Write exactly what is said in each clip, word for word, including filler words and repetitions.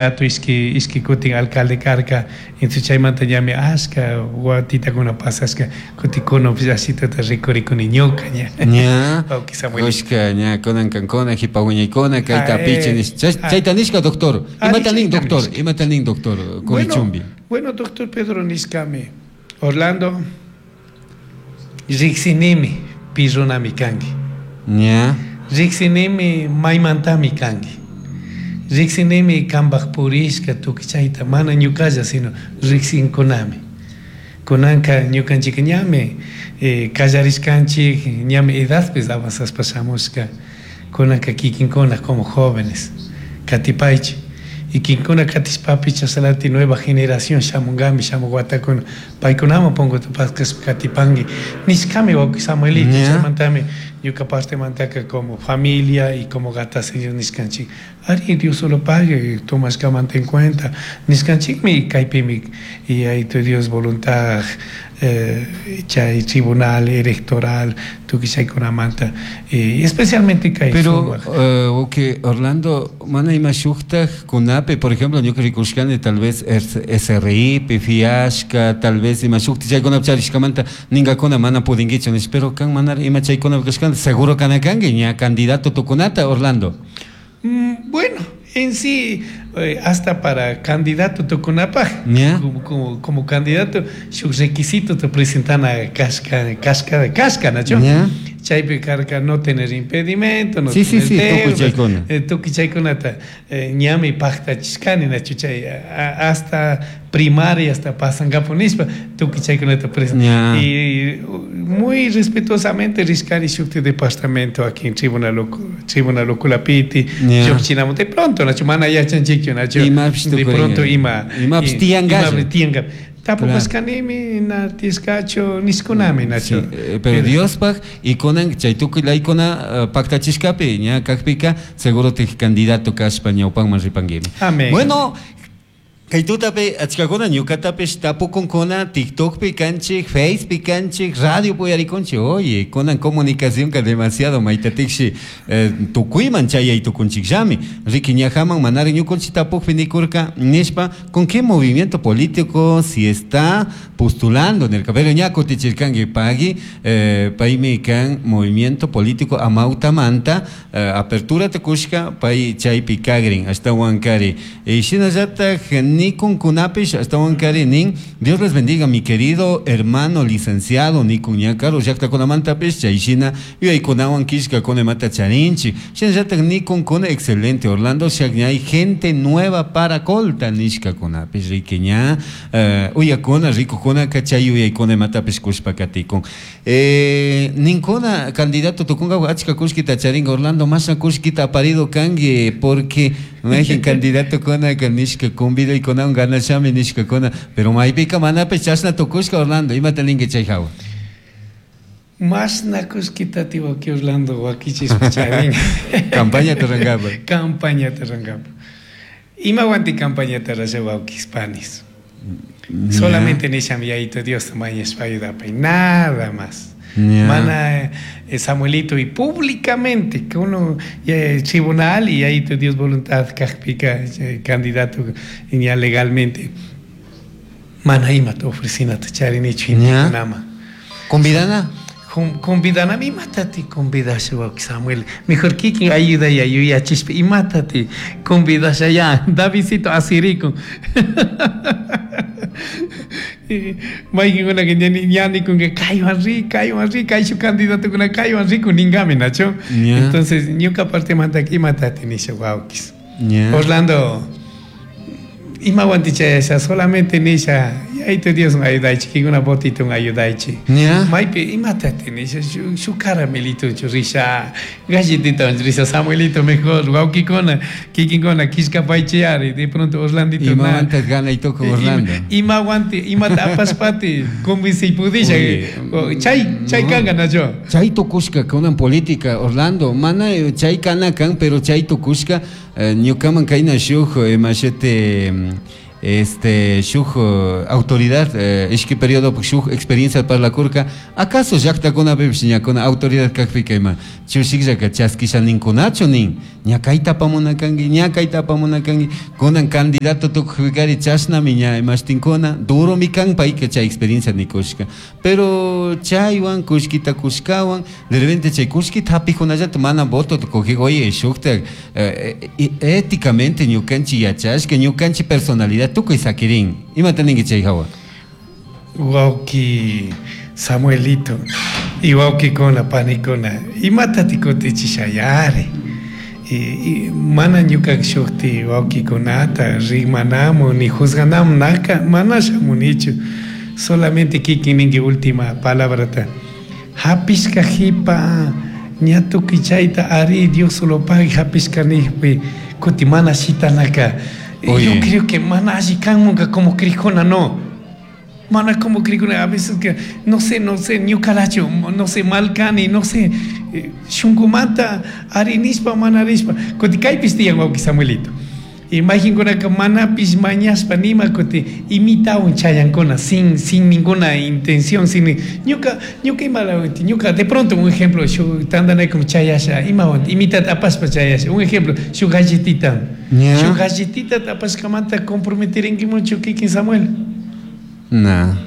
Ishki ishki kutin alcalde karka, entonces chaymanta ñami ashka watitakuna pasashka, kutin kunapish ashitata rikurikuni ñuka ña. Ña. Wawki Samuel. Kushka ña kunan kankuna jipa wiñaykuna kayta Ah, apichi eh, nish- chay- ah. Chayta nishka, doctor. Ah, Imata nin, chayta doctor? nishka. Imata nin, doctor Bueno, Curichumbi? bueno, doctor Pedro nishkami, Orlando, riksinimi pi runami kanki. Ña. Riksinimi maymantami kanki. Riksinimi kanpak purishka tukuy chayta mana ñukalla sino riksinkunami. Kunanka ñukanchik ñami eh, kallarishkanchik, ñami edadpis avanzashpa shamushka, kunanka kikinkuna como jóvenes katipaychik y kikinkuna katishpapish chashnalatik nueva generación shamunkami, shamuk watakuna paykunaman punkuta paskashpa katipanki nishkami, wawki Samuelito. Ña. Chaymantami ñuka partemantaka como familia y como gataseños nishkanchik ari, Dios solo pague, tomashkamanta en cuenta nishkanchikmi, kaypimi y Yayitu Dios voluntad eh, chay tribunal electoral tukuy chaykunamanta y especialmente kay Pero, sumak eh, ok, Orlando, mana ima shuktaj kunapi, por ejemplo, ñuka rikushkani tal vez S R I, fiashka, tal vez ima shukti chaykunapi charishkamanta ningakuna mana pudinkichu nish, pero kan mana ima chaykunapi kashkanta seguro kana kanki ña candidato tukunata, Orlando. Mm, bueno, en sí, eh, hasta para candidato tukunapaj, ¿Ya? como, como, como candidato, shuk requisito te presentan a kashka, kashka, kashka, nacho? ¿Ya? Chaypi karka no tener impedimento, no Sí, sí, tener sí, tukuy deuda, chaykuna. eh, tukuy chaykunata eh, ñami paktachishkani, nacho, chay a- hasta primaria hasta pasankapu nishpa tukuy chaykunata presenta Ya. y muy respetuosamente rishkani shukti departamento aquí en Tribunal Tribunal Ukulapiti Ya. llukchinamun de pronto, nacho, mana yachanchikchu, nacho, Imapish de tukuringa. pronto ima Imapish i- tiyankalla. imapish tiyanka tapupashkanimi na tiyashkachu nishkunami, nacho. Sí, eh, pero Diospaj y kunan chay tukuy laykuna uh, paktachishkapi ña kakpika seguro te candidato kashpa ñawpanman ripanguimi. Amén. Bueno, kay tutapi achkakuna ñukatapish tapukunkuna, TikTokpi kanchik, Facepi kanchik, radio puyarikunchik. Oye, kunan comunicación ka demasiado maytatikshi eh, tukuyman chayay tukunchikllami. Riki ñajaman manari ñukunchik tapukpi nikurka nishpa con qué movimiento político si está postulando nirka, pero ña kutichirkanki pagui eh, paymi kan movimiento político Amautamanta eh, apertura tukushka pay chaypi kagrin ashtawan kari y shinallatak nikunkunapish ashtawan kari nin "Dios les bendiga, mi querido hermano licenciado" nikun ña karu llaktakunamantapish chay shina yuyaykunawan killkakuna imata charinchik. Shinallatak nikunkuna "Excelente, Orlando Shakñay, gente nueva para Colta" nishkakunapish riki ña eh, uyakuna rikukunaka chay yuyaykuna imatapish kushpa katikun eh, ninkuna candidato tukunka achka kullkita charinka. Orlando, mashna kullkita aparido kanki? Porque mayjin candidato kunaka nishka convidaykunawan ganashami nishkakuna, pero maypika manapish chashna tukushka. Orlando, imata ninki chay hawa? Mashna kullkita ti wawki Orlando wakichishpa charin? Campañata rurankapa. Campañata rurankapa. Imawanti campañata rurasha, wawkis panis? Solamente nishami Yayitu Dios mañashpa ayudapay, nada más. Ya. Mana eh, Samuelito y públicamente que uno eh, tribunal y ahí Dios voluntad kakpika eh, candidato ya legalmente mana imata ofrecinata charinichu Ya. gentekunama. Convidana. Convidanami imatati convidasha, wawki Samuel? Mejor kikin ayuda ya yuyachishpa imatati convidasha ya Davidcito asirikun mayqinkunaka ña nikunka kaywan ri, kaywan ri, kayshuk candidatokuna kaywan rikun ninkami, nacho. Ya. Entonces ñuka partemantaka imatati nisha, wawkis? Ya. Orlando, imawanti chayasha? Solamente nisha Yayitu Dios ayudaychik, kinkuna votitun ayudaychik. Ya. Maypi imatati nisha? Shuk shuk caramelito risha, galletita risha, Samuelito, mejor wawkikuna kikinkuna killkapaychiyari de pronto Orlandito na Imamanta ganay tukun, Orlando? Imawanti imata apashpati convenci pudisha? Oye, Chay chay no. kanka, nacho. Chay tukushka kunan política, Orlando, mana chay kana kan, pero chay tukushka eh, ñukaman kayna shuk imashete Este shuk uh, autoridad eh, ishki periodo shuk experiencia parlakurka acaso llaqtakunapipish ñakuna autoridad kakpika ima chushikllaka chaskisha ninkunachu nin ña kayta apamuna kanki ña kayta apamuna kanki kunan candidato tukukpikari chashnami ña imashtinkuna duromi kan payka chay experiencia nikushka pero chaywan kullkita kushkawan de repente chay kullkita hapijkunallata mana votota cogij oye shukta eh, éticamente ñukanchik yachashka ñukanchik personalidad tukuy sakirin imata ninki chay hawa Wawki Samuelito y wawkikuna panikuna imatati kutichishayari y, mana ñuka shukti wawkikunata rimanamu ni juzganamu naka mana shamunichu solamente kikin ninki última palabrata hapishka hipa ña tukuy chayta ari Dios solo pagui hapishka nijpi kuti mana shitanaka. Yo creo que mana alli kanmunka como crijuna no mana como crijuna a veces que no sé no sé ñukalachu no sé mal kani no sé shunkumanta ari nishpa mana rishpa kuti kaypish tiyan wawki Samuelito imaginkunaka manapish mañashpa nima kuti imitawan chayankuna sin sin ninguna intención sin ñuka ñuka imalawati ñuka de pronto un ejemplo shuk tandanaykum chayasha imawan imitata apashpa chayasha un ejemplo shuk galletita yeah. Shuk galletita apashkamanta comprometirinkimunchu kikin Samuel. Na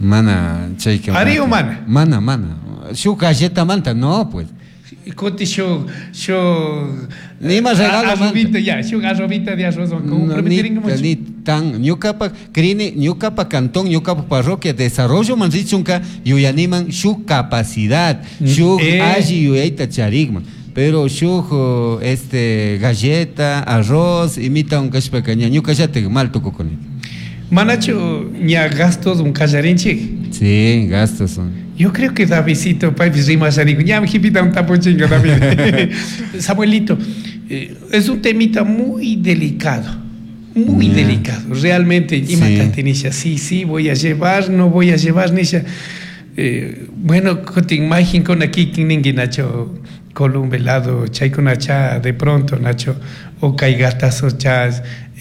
mana chayka ari o mana mana mana shuk galletamanta no pues kuti shuk shuk nima regalo arrobito ya shuk arrobita de arroz comprometer ni tan ñukapa crini ñukapa cantón ñukapa parroquia desarrollo man richunka yuyaniman shuk capacidad shuk eh. alli yuyayta charikman pero shuk este galleta arroz imita un kashpaka ña ñukallatik mal tukukuni manachu ña gastos un kallarinchik. Sí, gastos son. Yo creo que Davidcito, paypis rimashaniku, ña jipita un tapuchinga también. Samuelito, eh, es un temita muy delicado, muy yeah. delicado. Realmente, imata nisha, sí, sí, voy a llevar, no voy a llevar, nisha. Eh, bueno, kutin mayjinkuna kikin ninki Nacho, Columbe lado, chaykuna cha, de pronto, Nacho, o kay gastazo cha,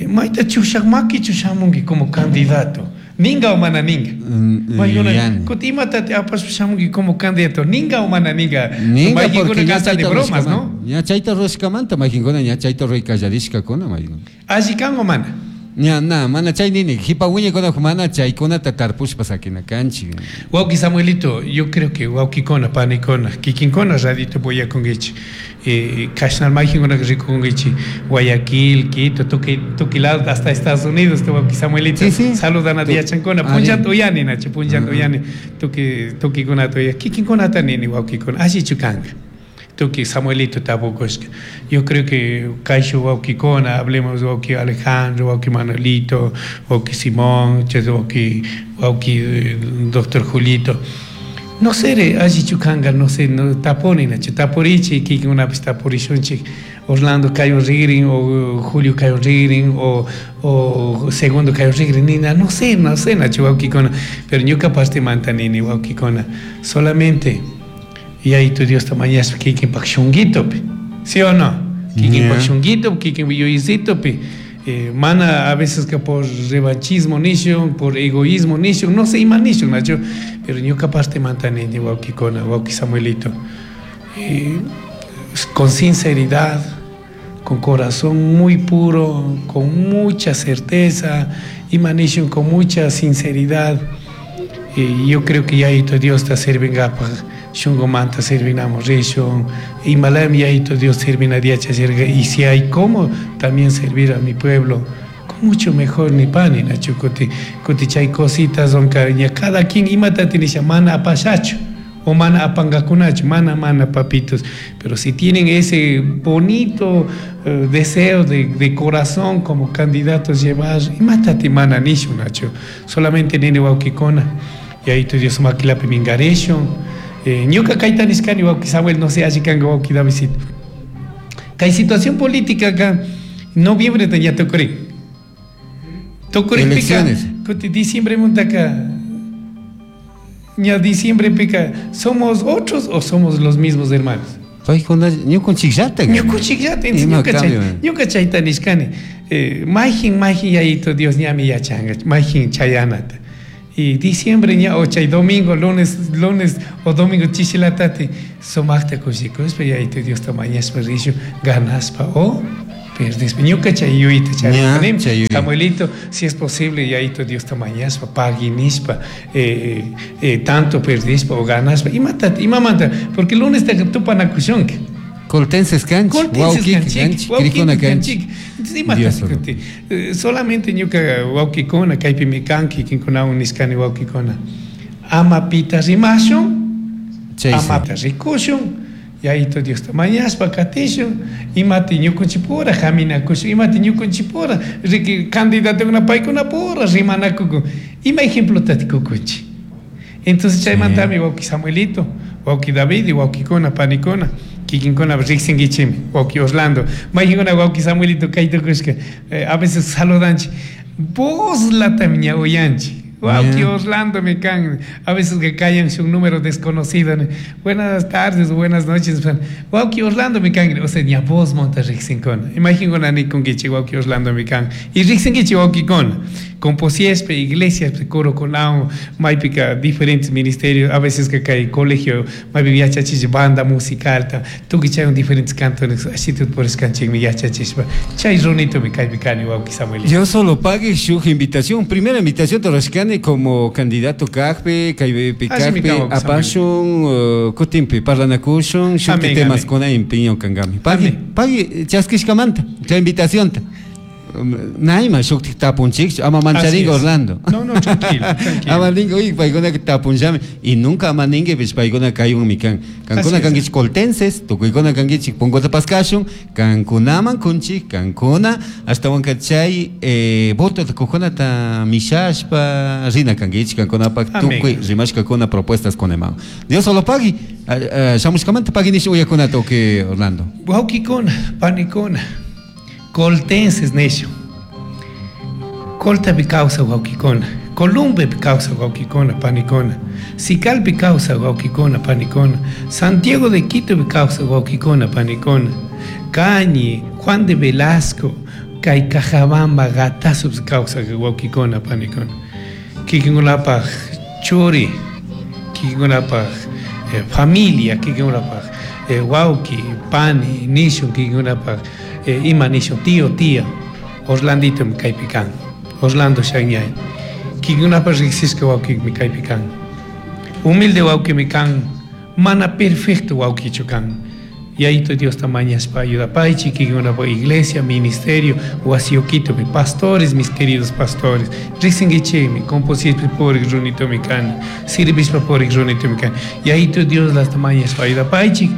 mayta chushak makichu shamunki como candidato. Ninga o mana ninga. Mm, kuti imata apashpa shamunki como candidato. Ninga o mana ninga. Ninga porque ña de bromas, ¿no? Ña chayta rushkamanta mayjinkuna ña chayta ruykallarishkakuna mayjin. Alli kan o mana? Ña na mana chay nini hipa wiñaykuna mana chaykunata tarpushpa sakina kanchik. Wawki Samuelito, yo creo que wawkikuna panikuna kikinkuna radito puyakunkichik eh, kashnal mayjinkuna rikunkichik Guayaquil, Quito, tukuy tukuy lado hasta Estados Unidos wawki Samuelito. Sí, sí. Saludan a diachankuna punchanta uyani nacho punchanta uyani tukuy tukuykunata uya kikinkunata nini wawkikuna allichu kanka tuki Samuelito tapukushka. Yo creo que kayshu wawkikuna, hablemos wawki Alejandro, wawki Manuelito, wawki Simón, wawki, wawki doctor Julito. No sé, allichu kanka, no sé, no taponi nacho, tapurichi, kikinkunapis tapurishunchik. Orlando kaywan rigrin o Julio kaywan rigrin o, o Segundo kaywan rigrin, nina, no sé, no sé, nacho wawkikuna, pero ñuka partimanta nini wawkikuna, solamente y ahí tu Dios mañashpa kikinpak shunguitopi, ¿sí o no? Kikinpak shunguitopi, kikin yuyisitopi. Eh, mana a veces que por revanchismo nishun, por egoísmo nishun, no sé ima nishun, Nacho, pero ñuka parte mantanini, wawkikuna, wawki Samuelito. Eh, con sinceridad, con corazón muy puro, con mucha certeza, ima nishun con mucha sinceridad. Eh, yo creo que ya tu Dios te sirvengapaj shunqumanta servinamos rishun imalami yayito Dios servina diachashirqa y si hay como también servir a mi pueblo con mucho mejor ni pani nachu kuti kuti chay cositas onka ña cada quien imata tinisha mana apashachu o mana apangakunachu mana mana papitos, pero si tienen ese bonito eh, deseo de, de corazón como candidatos llevar imatati mana nishu nachu solamente nini wawkikuna yayito Dios makilapi mingarishun. Ñuka kayta nishkani wawki Samuel, no sé alli kanka wawki Davidcito. Kay situación política acá, noviembre ya tukurin. Tukurinpika, kuti diciembre muntaka, ña diciembre pica, ¿somos otros o somos los mismos hermanos? Ñukunchikllata. Ñukunchikllata, ñuka chay, ñuka chayta nishkani. Eh, mayjin mayjin yayito Dios ñami yachanga mayjin chayanata y diciembre ña o chay domingo lunes lunes o domingo chishilatati sumaqta kushikuspa yayito Diosta mañaspa rishu ganaspa o perdispa ñuka chay yuyayta Ña, chay yuyay. Samuelito, si es posible yayito Diosta mañaspa paguinispa eh, eh, tanto perdispa o ganaspa imata imamanta porque lunes ta tupanakushunki Coltenses kanchik, Coltenses wawqiki kanchik, kanchik, wawqiki krikuna kanchik. kanchik. Entonces, imata Dios solo. kuti, eh, solamente ñuka wawqikuna kaypimi kanki kikinkunawan nishkani wawqikuna ama pita rimashun Chaysi. amata rikushun yayito Diosta mañaspa katishun imati ñukunchikpura haminakushun imati ñukunchikpura riki candidatokuna paykunapura rimanakukun ima ejemplotati kukunchik entonces chaymantami wawqi Samuelito wawqi David y wawqikuna panikuna kikinkuna riksinkichikmi wawqi Orlando mayqinkuna wawqi Samuelito kaytukushka eh, a veces saludanchik vozlatami ña uyanchik wawqi Yeah. Orlando me kan a veces que caen un número desconocido ¿no? Buenas tardes buenas noches wawqi Orlando mi kan o sea ña voz monta riksinkuna imaginkuna nikunkichik wawqi Orlando mi kan y riksinkichik wawqikuna composiespe iglesias corokunawan maypika diferentes ministerios a veces que kay colegio maypi yachachishpa banda musicalta tukuy chaywan diferentes cantones ashitut purishkanchikmi yachachishpa chay runitomi kaypi kani wawqi Samuelito. Dios solo pague su invitación. Primera invitación te como candidato kajpi, kaypi Así mi kajpi, kawa, apashun, uh, kutinpi, parlanakushun, shukti Amén, temas amén. kuna empeño kangami. Pagui, Amén. pagui, chaskishkamanta, chay invitación ta. Um, Naima shukti tapunchik, ama mancharinga Así es. Orlando. No, no, tranquilo, tranquilo. Ama ninga, uy, paykuna tapunllami y nunca ama ninga pues paykuna kaywan mi kan. Kankuna Así es. kankichik coltenses, tukuykuna kankichik punkota paskashun, kankunaman kunchik, kankuna ashtawanka chay eh, voto kukunata mishashpa rina kankichik, kankunapak Amén. tukuy rimashkakuna propuestas kunaman. Dios solo pagui, shamushkamanta pagui nish uyakunata okay Orlando. Wawqikuna, panikuna, coltenses nishu. Coltapi kawsaq wawqikuna, Columbepi kawsaq wawqikuna, panikuna, Sicalpi kawsaq wawqikuna, panikuna, Santiago de Quitopi kawsaq wawqikuna, panikuna, Cañi, Juan de Velasco, kay Cajabamba, Gatasupi kawsaq wawqikuna, panikuna. Kikinkunapaq churi, kikinkunapaq eh, familia, kikinkunapaq eh, wawqi, pani, nishun, kikinkunapaq eh, ima nishun, tío, tía, Orlandito mi kaypi kan, Orlando Xañay. Kikinkunapaq riqsishka wawqimi kaypi kan. Humilde wawqimi kan, mana perfecto wawqichu kan. Yayito Diosta mañaspa ayudapaychik, kikinkunapaq iglesia, ministerio, wasiyukitupi, pastores, mis queridos pastores. Riqsinkichikmi, composishpa purik runitomi kani, sirvishpa purik runitomi kani. Yayito Dios lasta mañaspa ayudapaychik,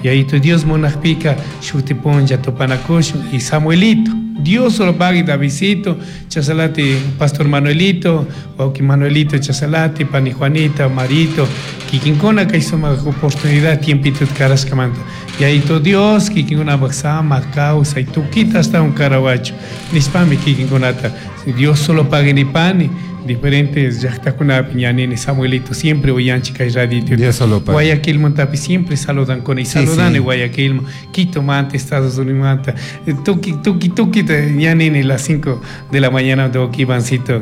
Yayito Dios munaqpika shuti punlla tupanakushun y Samuelito. Dios solo pagui Davidcito, Chasalati, Pastor Manuelito, wawqi Manuelito, Chasalati, Pani Juanita, Marito, kikinkuna kay sumaq oportunidad tiempito karashkamanta. Yayito Dios, kikinkunapaq samaq kawsay, tukita ashtawan karawachu. Nishpami kikinkunata, Dios solo pague nipani, diferentes llaqtakunapi ñanini Samuelito siempre uyanchik kay radito. Dios solo pague. Guayaquil montapi siempre saludan con y Sí, saludan sí. Guayaquil, Quito manta, Estados Unidos manta, tuki tuki tuki ñanini las cinco de la mañana de Ivancito,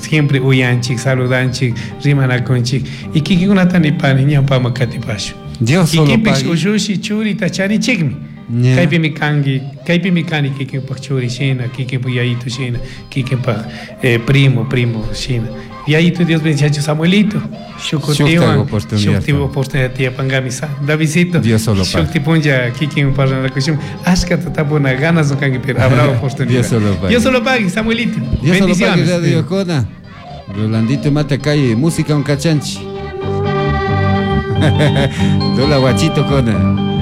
siempre uyanchik, saludanchik, rimanakunchik y kikinkunata nipani ñawpama katipashun. Dios solo Kikinpish pague. ushushi churita chanichikmi. Ña. Kaypimi kanki, kaypimi kani kikinpaq churi shina, kikinpaq yayitu shina, kikinpaq eh, primo, primo shina. Yayitu Dios bendice Samuelito. Shukutiwan, Shukta oportunidad. shukti oportunidad tiyapangami sa. Davidcito. Dios solo pague. Shukti punlla kikin parlanakushun. Ashkata tapuna ganas no kanki, pero habrá oportunidad. Dios solo pague. Dios solo pague, Samuelito. Dios solo pague Bendiciones. Radio Kona. Rolandito mata calle, música un cachanchi. Dola guachito kona.